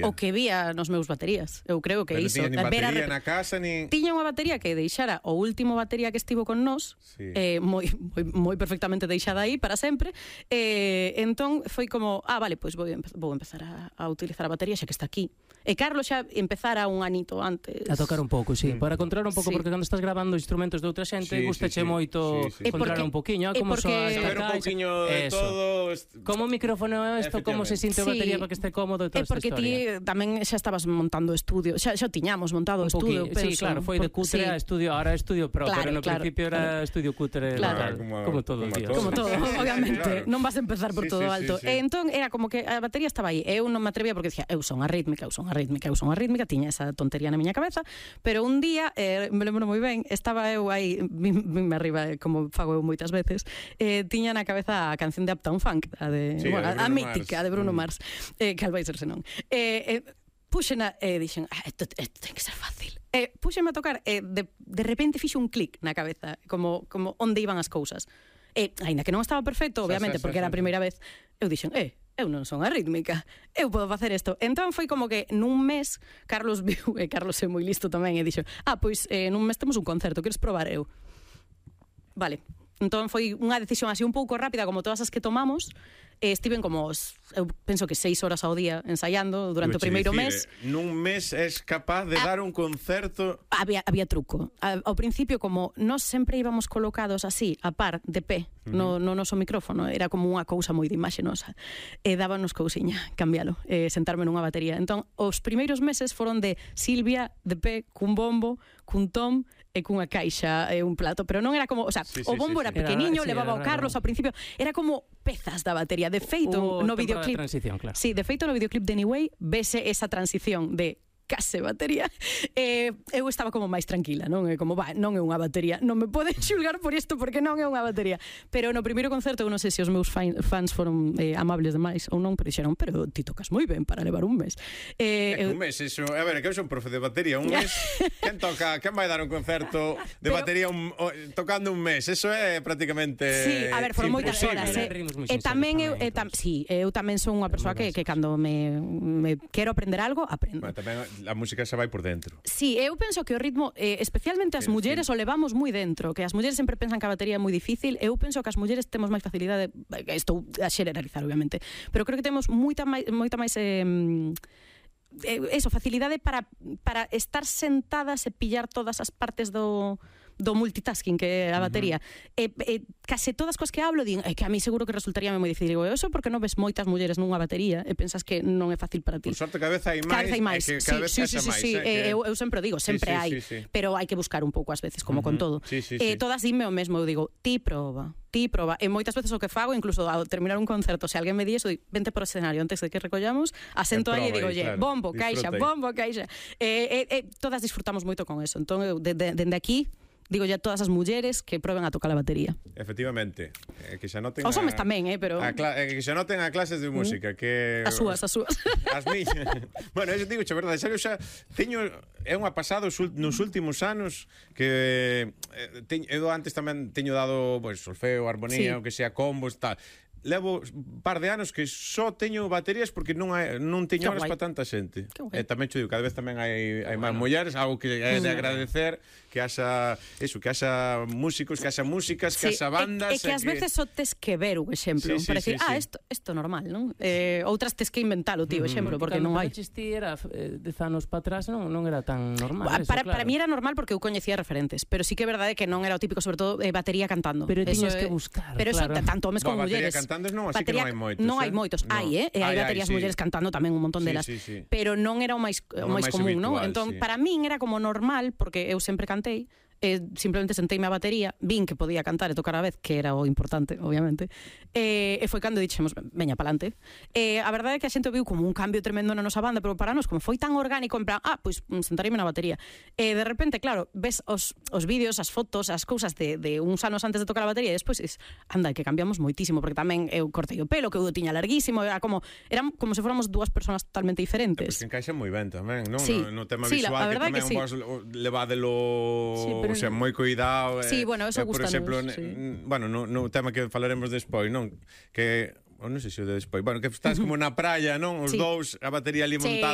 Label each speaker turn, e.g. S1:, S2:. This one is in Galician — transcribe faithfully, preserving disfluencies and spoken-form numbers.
S1: o que vía nos meus baterías. Eu creo que
S2: Pero
S1: iso.
S2: tiña nin
S1: ver a
S2: batería
S1: rep-
S2: na casa, nin...
S1: Tiña unha batería que deixara o último batería que estivo con nós,
S2: Sí.
S1: eh, moi, moi, moi perfectamente deixada aí para sempre. Eh, entón foi como, ah, vale, pois vou, empe- vou empezar a, a utilizar a batería xa que está aquí. E Carlos xa empezara un anito antes.
S3: A tocar un pouco, sí, para controlar un pouco,
S1: Sí.
S3: porque cando estás grabando instrumentos de outra xente,
S2: Sí,
S3: gustache
S2: sí, sí.
S3: moito
S2: Sí, sí.
S3: controlar
S1: E porque-
S3: un poquinho, ah,
S1: e
S3: como
S1: porque-
S3: soa esta
S2: Saber un
S3: caixa.
S2: pouquiño de
S3: Eso.
S2: todo... est-
S3: Como micrófono é isto, como se sinte a
S1: Sí.
S3: batería para que este cómodo e toda
S1: É
S3: esta
S1: porque
S3: historia.
S1: ti tamén xa estabas montando o estudio, xa, xa tiñamos montado o
S3: Un
S1: estudio,
S3: poquinho, sí,
S1: penso.
S3: claro, foi de
S1: Por-
S3: cutre
S1: sí.
S3: a estudio, ahora é estudio pro,
S1: Claro,
S3: pero no
S1: claro,
S3: principio era
S1: claro.
S3: estudio cutre,
S1: Claro.
S3: tal,
S2: Como-
S3: como todos os
S2: como
S3: días.
S2: todo.
S1: Como todo, obviamente,
S2: Claro.
S1: non vas a empezar por
S2: Sí,
S1: todo
S2: sí,
S1: alto.
S2: sí, sí.
S1: E entón era como que a batería estaba aí. Eu non me atrevía porque dicía, eu son a rítmica, eu son a rítmica, eu son a rítmica, tiña esa tontería na miña cabeza, pero un día, eh, me lembro moi ben, estaba eu aí, vime arriba, eh, como fago eu moitas veces, eh, tiña na cabeza a canción de Uptown Funk, a de,
S2: Sí,
S1: bueno,
S2: a de
S1: a, a
S2: Bruno
S1: mítica,
S2: Mars.
S1: a de Bruno
S2: Mm.
S1: Mars, eh, que al vai ser senón. Eh, eh, puxena e eh, dixen, ah, isto, isto ten que ser fácil. E eh, puxeme a tocar e eh, de, de repente fixo un clic na cabeza, como, como onde iban as cousas. E, aínda que non estaba perfecto, obviamente,
S2: Xa, xa,
S1: porque
S2: xa,
S1: era a
S2: xa.
S1: primeira vez, eu dixen, eh, eu non son a rítmica, eu podo facer isto. Entón foi como que nun mes Carlos viu, e Carlos é moi listo tamén, e dixo, ah, pois eh, nun mes temos un concerto, queres probar eu? Vale. Entón foi unha decisión así un pouco rápida, como todas as que tomamos. E estiven como, os- eu penso que seis horas ao día ensaiando durante o
S2: Iba che
S1: primeiro
S2: dicir,
S1: mes.
S2: eh, Nun mes és capaz de
S1: Ah.
S2: dar un concerto...
S1: Había, había truco. A, ao principio, como nós sempre íbamos colocados así, a par, de pé, no, no noso micrófono, era como unha cousa moi de imaxe nosa. E dábanos cousiña, cambialo, e sentarme nunha batería. Entón, os primeiros meses foron de Silvia, de pé, cun bombo, cun tom, e cunha caixa e un plato, pero non era como, o sea,
S2: Sí, sí,
S1: o bombo
S2: sí,
S1: era
S2: sí.
S1: pequeniño,
S3: Era- sí,
S1: levaba
S3: era
S1: o Carlos
S3: raro.
S1: ao principio, era como pezas da batería. De feito,
S3: Hubo
S1: no
S3: temporada de
S1: videoclip,
S3: transición, claro.
S1: sí, de feito no videoclip de Anyway vese esa transición de case batería. Eh, eu estaba como máis tranquila, non é como, va, non é unha batería, non me poden xulgar por isto porque non é unha batería. Pero no primeiro concerto, eu non sei se os meus fan, fans foron eh, amables demais ou non, pero dixeron, pero ti tocas moi ben para levar un mes.
S2: É
S1: Eh,
S2: que
S1: eu,
S2: un mes, eso, a ver, que eu son profe de batería, un mes, quen toca, quen vai dar un concerto de
S1: Pero-
S2: batería un, o, tocando un mes? Eso é prácticamente
S1: Sí, a ver, foron moitas
S2: imposible.
S1: horas,
S3: eh.
S1: eh.
S3: Ritmos moi
S1: E tamén eu,
S3: sinceros
S1: e tam,
S3: tamén,
S1: sí, eu tamén son unha persoa que, que cando me, me quero aprender algo, aprendo.
S2: Bueno, tamén a música se vai por dentro.
S1: Sí, eu penso que o ritmo, eh, especialmente as
S2: Sí,
S1: mulleres,
S2: sí.
S1: o levamos moi dentro, que as mulleres sempre pensan que a batería é moi difícil. Eu penso que as mulleres temos máis facilidade, eh, estou a xeneralizar, obviamente, pero creo que temos moita máis, moita máis eh, eh, eso, facilidade para, para estar sentadas e pillar todas as partes do do multitasking que é a batería. Uh -huh. e, e case todas coas que hablo din, é que a mí seguro que resultaría moi difícil. Digo, eso porque non ves moitas mulleres nunha batería e pensas que non é fácil para ti.
S2: Por sorte, cada vez hai
S1: Cada
S2: máis,
S1: vez hai máis.
S2: é que cada
S1: Sí,
S2: vez
S1: sí,
S2: pesa
S1: sí, sí,
S2: máis.
S1: sí.
S2: eh, que-
S1: Eu, eu sempre o digo, sempre
S2: Sí, sí,
S1: hai,
S2: sí, sí.
S1: pero hai que buscar un pouco ás veces, como con todo.
S2: Sí, sí, sí.
S1: Eh, todas dime o mesmo, eu digo, ti proba, ti proba. E moitas veces o que fago, incluso ao terminar un concerto, se alguén me di eso, digo, vente por escenario antes de que recollamos, asento
S2: E
S1: aí e
S2: proba
S1: digo,
S2: aí,
S1: oye,
S2: claro,
S1: bombo, caixa,
S2: disfruta aí."
S1: bombo, caixa. Eh, eh, eh, todas disfrutamos moito con eso. Entón, eu, de, de, dende aquí, digo ya a todas as mulleres que proben a tocar a batería.
S2: Efectivamente, eh, que xa noten
S1: Os
S2: a-
S1: homes tamén, eh, pero
S2: a cla- eh, que xa noten a clases de música que
S1: as súas, as súas.
S2: As miñas. Bueno, eu digo, che verdade, xa, xa teño é unha pasada os ul- nos últimos anos que eh, teño, eu antes tamén teño dado, pois, pues, solfeo, armonía,
S1: Sí.
S2: o que sea, combos, tal. Levo un par de anos que só teño baterías porque non hai, non teño
S1: Que
S2: horas
S1: guai.
S2: para tanta xente.
S1: Que guai.
S2: E tamén te digo, cada vez tamén hai, hai máis mulleres, algo que é de agradecer, que haxa, eso, que haxa músicos, que haxa músicas, que
S1: Sí,
S2: haxa bandas.
S1: E, e que ás veces só tes que ver un exemplo,
S2: Sí, sí,
S1: para decir,
S2: sí,
S1: ah,
S2: sí.
S1: isto isto normal, non? Eh, outras tes que inventalo, tío, exemplo, porque non hai.
S3: Cando ti era eh, dez anos para atrás non, non era tan normal
S1: Ba-
S3: eso,
S1: para,
S3: claro.
S1: para mí era normal porque eu coñecía referentes, pero sí que é verdade que non era o típico, sobre todo, eh, batería cantando.
S3: Pero
S1: Eso
S3: tiñas
S1: é-
S3: que buscar,
S1: Pero eso,
S3: claro.
S1: tanto homes
S2: Bo,
S1: como
S2: batería
S1: mulleres.
S2: cantantes non, así que non hai moitos,
S1: Non hai
S2: eh?
S1: moitos,
S2: No.
S1: hai, eh? E hai
S2: Hai, hai,
S1: baterías
S2: sí.
S1: mulleres cantando tamén un montón
S2: Sí,
S1: delas.
S2: sí, sí.
S1: Pero non era o máis, o
S2: Non
S1: máis
S2: máis
S1: común, non?
S2: habitual,
S1: Entón,
S2: sí.
S1: para min era como normal, porque eu sempre cantei, eh, simplemente senteime a batería, vin que podía cantar e tocar a vez, que era o importante, obviamente, e, e foi cando dixemos, veña palante. E a verdade é que a xente viu como un cambio tremendo na nosa banda, pero para nós, como foi tan orgánico, en plan, ah, pois pues, sentaríame na batería. E de repente, claro, ves os, os vídeos, as fotos, as cousas de, de uns anos antes de tocar a batería, e despois es, anda, que cambiamos moitísimo, porque tamén eu cortei o pelo, que eu o tiña larguísimo, era como, eran como se fóramos dúas persoas totalmente
S2: Pois
S1: diferentes.
S2: que encaixa moi ben tamén, non?
S1: Sí.
S2: No, no tema
S1: Sí, la-
S2: visual,
S1: a
S2: que
S1: verdade
S2: tamén
S1: que sí.
S2: vos levádelo,
S3: Sí, pero
S2: o sea,
S3: non-
S2: moi cuidado.
S1: Sí, bueno, eso
S2: por
S1: gústanos,
S2: exemplo,
S1: sí.
S2: ne- bueno, no, no tema que falaremos despois, non? Que ou non sei se o de despois. Bueno, que estás como na praia, non? Os
S1: Sí.
S2: dous, a batería ali
S1: Sí.
S2: montada